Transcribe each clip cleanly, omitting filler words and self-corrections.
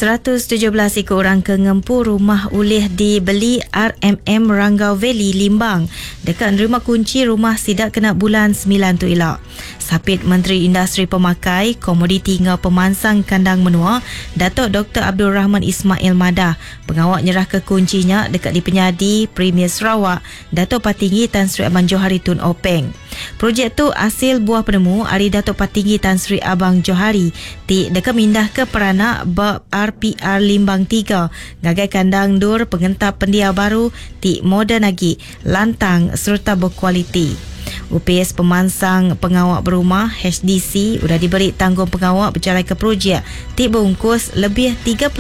117 iku orang ke ngempu rumah ulih dibeli RMM Ranggau Valley Limbang deka nerima kunchi rumah sida kena bulan semilan tu ila. Sapit Menteri Industri Pemakai, Komoditi enggau Pemansang Kandang Menua, Datuk Doktor Abdul Rahman Ismail madah, pengawa nyerahka kunchi nya deka dipenyadi Premier Sarawak, Datuk Patinggi Tan Sri Abang Johari Tun Openg. Projek tu asil buah penemu ari Datuk Patinggi Tan Sri Abang Johari ti deka mindahka peranak ba RPR Limbang tiga ngagai kandang endur pengentap pendiau baru ti moden agi, lantang sereta bekualiti. Opis Pemansang Pengawa Berumah, HDC, udah diberi tanggungpengawa bejalaika projek ti beungkus lebih 39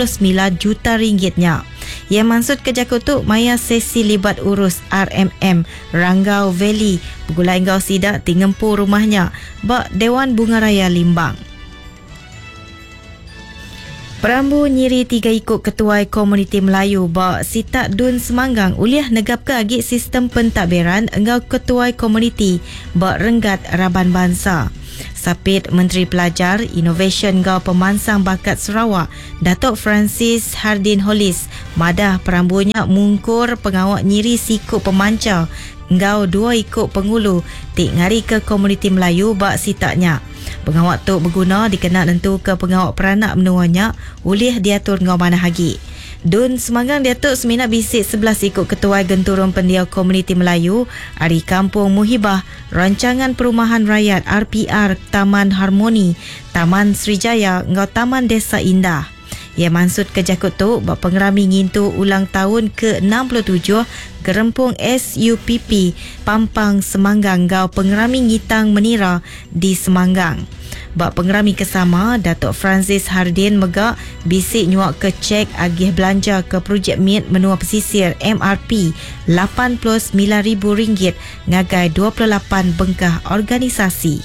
juta ringgit nya. Iya mansutka jaku tu maya sesi libat urus RMM Ranggau Valley begulai enggau sida ti ngempu rumah nya ba Dewan Bunga Raya Limbang. Perambu nyiri tiga iku ketuai komuniti Melayu ba sitak Dun Semanggang ulih negapka agi sistem pentadbiran enggau ketuai komuniti ba renggat raban bansa. Sapit Menteri Pelajar, Inovasyen enggau Pemansang Bakat Sarawak, Datuk Francis Hardin Hollis madah perambu nya mungkur pengawa nyiri siku pemancha enggau dua iku pengulu ti ngarika komuniti Melayu ba sitak nya. Pengawa tu beguna dikena nentuka pengawa peranak menua nya ulih diatur enggau manah agi. Dun Semanggang diatu semina bisi 11 iku ketuai genturung pendiau komuniti Melayu ari Kampung Muhibah, Rancangan Perumahan Rakyat, RPR, Taman Harmoni, Taman Sri Jaya enggau Taman Desa Indah. Iya mansutka jaku tu ba pengerami ngintu ulang taun ke 67 Gerempung SUPP Pampang Semanggang enggau Pengerami Ngitang Menira di Semanggang. Ba pengerami ke sama, Datuk Francis Hardin mega bisi nyuaka chek agih belanja ke Projek Mit Menua Pesisir, MRP, 89 ribu ringgit ngagai 28 bengkah organisasi.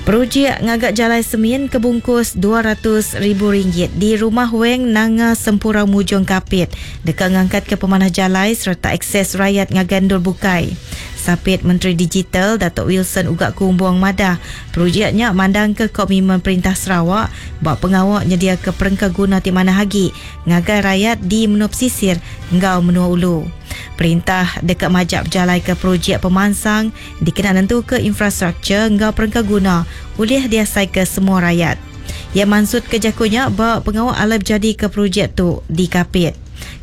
Projek ngaga jalai semin ke bungkus 200 ribu ringgit di Rumah Weng Nanga Sempurau Mujong Kapit deka ngangkatka pemanah jalai sereta akses rayat ngagai endur bukai. Sapit Menteri Digital Datuk Wilson Ugak Kumbong madah projek nya mandangka komitmen Perintah Sarawak ba pengawa nyediaka perengka guna ti manah agi ngagai rayat di menua pesisir enggau menua ulu. Perintah deka majak bejalaika projek pemansang dikena nentuka infrastruktur enggau perengka guna ulih diasaika semua rayat. Iya mansutka jaku nya ba pengawa alai bejadika projek tu di Kapit.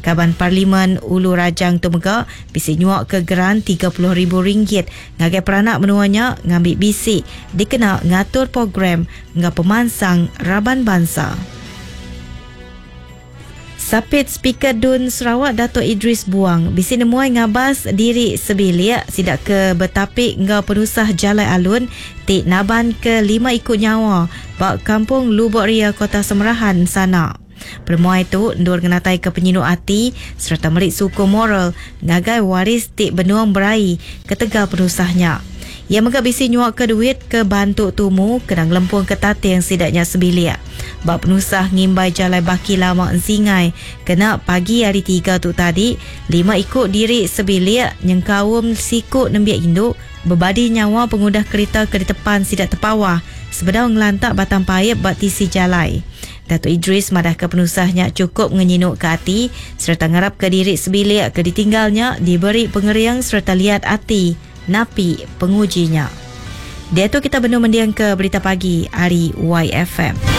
Kaban Parlimen Ulu Rajang tu mega bisi nyuaka geran 30 ribu ringgit ngagai peranak menua nya ngambi bisi dikena ngatur program enggau pemansang raban bansa. Sapit Speaker Dun Sarawak Datuk Idris Buang bisi nemuai ngabas diri sebilik sida ke betapi enggau penusah jalai alun ti naban ke lima iku nyawa ba Kampung Lubok Ria Kota Semerahan sana. Penemuai tu endur ngenataika penyinu ati sereta meri sukung moral ngagai waris ti benung beraie ketegal penusah nya. Iya mega bisi nyuaka duit ke bantu tumu kena ngelempungka tating sida nya sebilik. Ba penusah ngimbai jalai baki lama Ensingai kena pagi hari Tiga tu tadi, lima iku diri sebilik nyengkaum siku nembiak indu bebadi nyawa pengudah kerita ke ditepan sida tepawah sebedau ngelantak batang paip ba tisi jalai. Datuk Idris madahka penusah nya chukup ngenyinuka ati sereta ngarapka diri sebilik ke ditinggal nya diberi pengering sereta liat ati napi penguji nya. Diatu kita benung mendingka Berita Pagi ari YFM.